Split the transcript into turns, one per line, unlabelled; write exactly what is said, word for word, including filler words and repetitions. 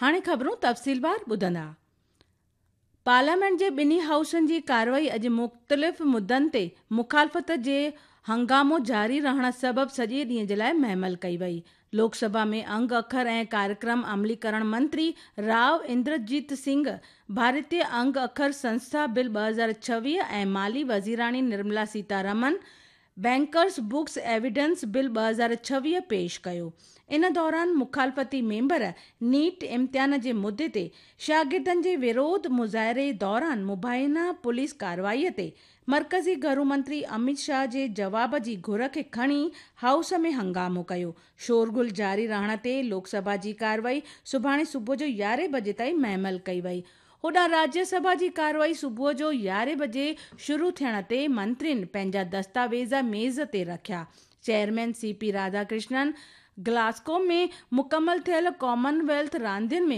هاڻي خبرون تفصيلوار ٻڌندا. پارليامينٽ جي ٻنهي هائوسن جي ڪارروائي اڄ مختلف مدن تي مخالفت جي هنگامو جاري رهڻ سبب سڄي ڏينهن جي لاءِ مهمل ڪئي وئي. لوڪ سڀا ۾ انگ اکر ۽ ڪاريڪرم عمليڪرڻ منتري رائو اندرجيت سنگهه ڀارتيه انگ اکر سنسٿا بل ٻه هزار ڇويهه ۽ مالي Wazirani Nirmala Sitharaman bankers books evidence bill ٻه هزار ڇويهه پيش ڪيو. ان دوران مخالفتي ميمبر نيٽ امتحان جي مدي تي شاگردن جي وروڌ مظاهري دوران مبينا پوليس ڪارروائي تي مرڪزي گهرو منتري امت شاهه جي جواب جي گهر کي کڻي هائوس ۾ هنگامو ڪيو. شورغل جاري رهڻ تي لوڪ سڀا جي ڪارروائي سڀاڻي صبح جو يارهين بجي تائين مهمل ڪئي وئي. هوڏانهن راجيه سڀا جي ڪارروائي صبح جو يارهين بجي شروع ٿيڻ تي منترين پنهنجا دستاويز ميز تي رکيا. Chairman C P Radhakrishnan Glasgow ۾ مڪمل ٿيل ڪامن ويلٿ راندين ۾